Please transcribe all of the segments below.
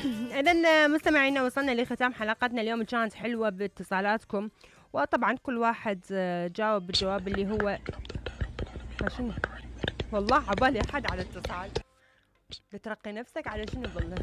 إذن مستمعينا وصلنا لختام حلقتنا اليوم، كانت حلوة باتصالاتكم، وطبعا كل واحد جاوب بالجواب اللي هو شنو. والله عبالي أحد على اتصال، بترقي نفسك على شنو بالله.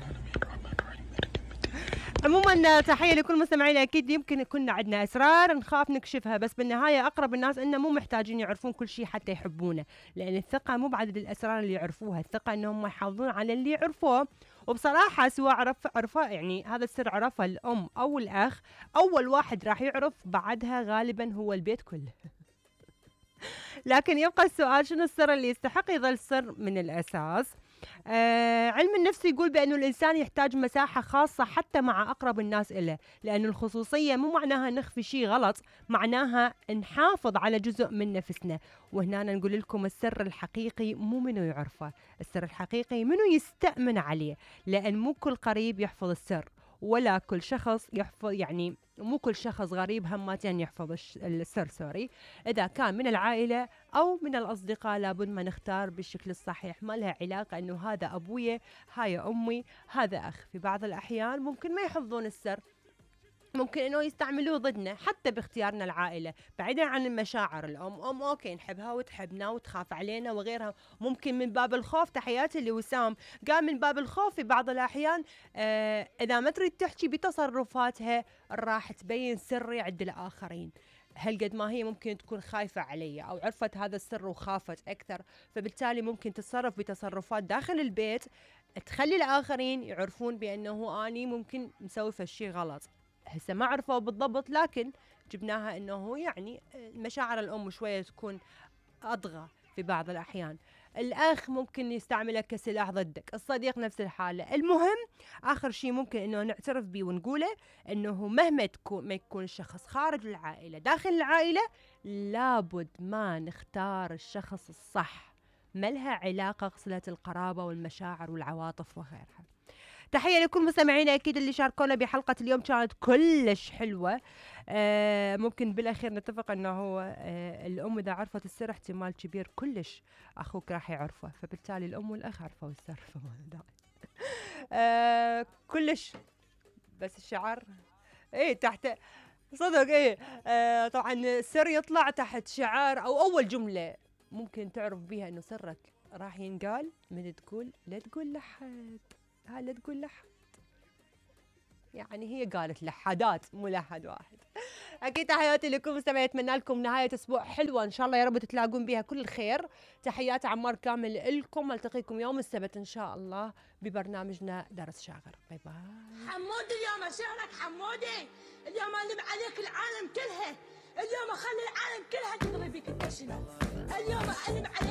عموما تحية لكل مستمعينا. أكيد يمكن كنا عندنا أسرار نخاف نكشفها، بس بالنهاية أقرب الناس إنه مو محتاجين يعرفون كل شيء حتى يحبونه، لأن الثقة مو بعدد الأسرار اللي يعرفوها، الثقة إنهم يحافظون على اللي يعرفوه. وبصراحة سواء عرفه يعني هذا السر عرفه الأم أو الأخ، أول واحد راح يعرف بعدها غالبا هو البيت كله. لكن يبقى السؤال، شنو السر اللي يستحق يظل سر من الأساس؟ علم النفس يقول بأنه الإنسان يحتاج مساحة خاصة حتى مع أقرب الناس إله، لأن الخصوصية مو معناها نخفي شيء غلط، معناها نحافظ على جزء من نفسنا. وهنا نقول لكم السر الحقيقي مو منو يعرفه، السر الحقيقي منو يستأمن عليه، لأن مو كل قريب يحفظ السر، ولا كل شخص يحفظ، يعني مو كل شخص غريب همتين يحفظ السر سوري. إذا كان من العائلة أو من الأصدقاء لابد ما نختار بالشكل الصحيح، ما لها علاقة أنه هذا أبويا هاي أمي هذا أخ. في بعض الأحيان ممكن ما يحفظون السر، ممكن انه يستعملوه ضدنا حتى باختيارنا العائله، بعيدا عن المشاعر. الام اوكي نحبها وتحبنا وتخاف علينا وغيرها، ممكن من باب الخوف. تحياتي لوسام، قال من باب الخوف في بعض الاحيان اذا ما تريد تحكي بتصرفاتها راح تبين سري عند الاخرين. هل قد ما هي ممكن تكون خايفة علي أو عرفت هذا السر وخافت أكثر، فبالتالي ممكن تتصرف بتصرفات داخل البيت تخلي الآخرين يعرفون بأنه أني ممكن مسوي فشي غلط. هسه ما عرفوا بالضبط، لكن جبناها انه يعني مشاعر الام شويه تكون اضغى في بعض الاحيان. الاخ ممكن يستعمله كسلاح ضدك، الصديق نفس الحاله. المهم اخر شيء ممكن انه نعترف به ونقوله انه مهما ما يكون الشخص خارج العائله داخل العائله، لابد ما نختار الشخص الصح، ما لها علاقه صله القرابه والمشاعر والعواطف وغيرها. تحية لكل مستمعينا أكيد اللي شاركونا بحلقة اليوم، كانت كلش حلوة. ممكن بالأخير نتفق أنه الأم إذا عرفت السر احتمال كبير كلش أخوك راح يعرفه، فبالتالي الأم والأخ عرفوا السر. كلش بس الشعر إيه تحت صدق إيه. طبعا السر يطلع تحت شعار أو أول جملة ممكن تعرف بيها أنه سرك راح ينقال من تقول لا تقول لحد، لا تقول لحد، يعني هي قالت لحدات مو لحد واحد. اكيد تحياتي لكم مستمعين، اتمنى لكم نهايه اسبوع حلوه ان شاء الله، يا رب تتلاقون بها كل الخير. تحيات عمار كامل لكم، التقيكم يوم السبت ان شاء الله ببرنامجنا درس شاغر. باي باي. حمودي اليوم اشعرك حمودي، اليوم اقلب عليك العالم كلها، اليوم اخلي العالم كلها تدري بك انت شنو، اليوم اقلب عليك